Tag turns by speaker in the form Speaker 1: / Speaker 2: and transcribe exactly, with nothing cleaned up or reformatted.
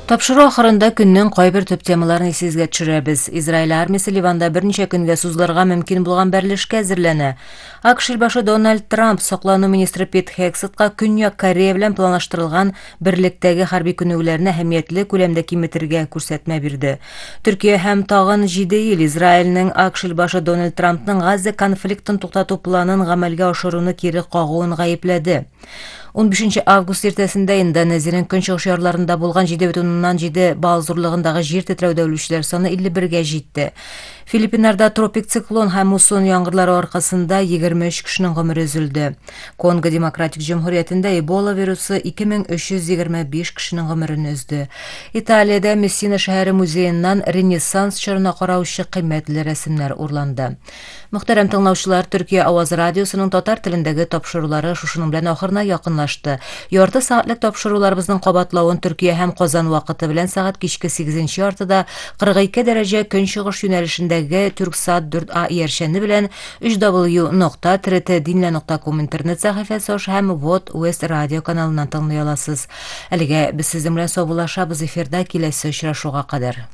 Speaker 1: Тапшыруу ахырында күндүн кой бир төп темаларын эсибизге түшүрөбүз. Израиль армиясы Ливанда бир нече күнгө созуларга мүмкүн болгон берилишке азырлене. АКШ башы Дональд Трамп соклануу министри Пит Хексетка Күнү Корея менен планлаштырылган бирликтеги харбий күнөөлөрүн эхемиятлүү күлөмдө киметирге көрсөтмө берди. Түркия һәм тагын жети эл Израилдин АКШ башы Дональд Трамптын Газа конфликтин токтотуу планын гамелге ашырууну кири кагууун гайыплады. он бешинчи август эртесинде Индонезиянын көнчүгүш шаарларында болгон жети бүтүн ондон жети балл зорлугундагы жер титирөөдө өлүүчүлөр саны элүү бирге жетти. Филиппиндерде тропик циклон һәм муссон яңгырлары аркасында егерме үч кишинин гомери үзүлдү. Конго Демократик Жумһуриятында Эбола вирусу эки миң үч жүз егерме беш кишинин гомерин үздү. Италияда Мессина шаары музейинен Ренессанс чоруна караучу кыймметтүү ресимдер урланды. Мөхтәрәм тыңлаучылар, Түркия Аваз радиосунун татар тилиндеги тапшыруулары шушунун менен ахырына якынлашты. Ярты сааттык тапшырууларыбыздын кабатлауын Түркия һәм Казан вакыты менен саат кички сегизинчи яртыда кырк эки дереже көнчыгыш юнәлешендәге Түрксат дүрт А иярчәне белән үч дабл ю нокта т р т динле нокта ком интернет сәхифәсе һәм Вот West радио каналыннан тыңлый аласыз. Әлегә без сезнең белән саубуллашабыз эфирда киләсе очрашуга кадәр.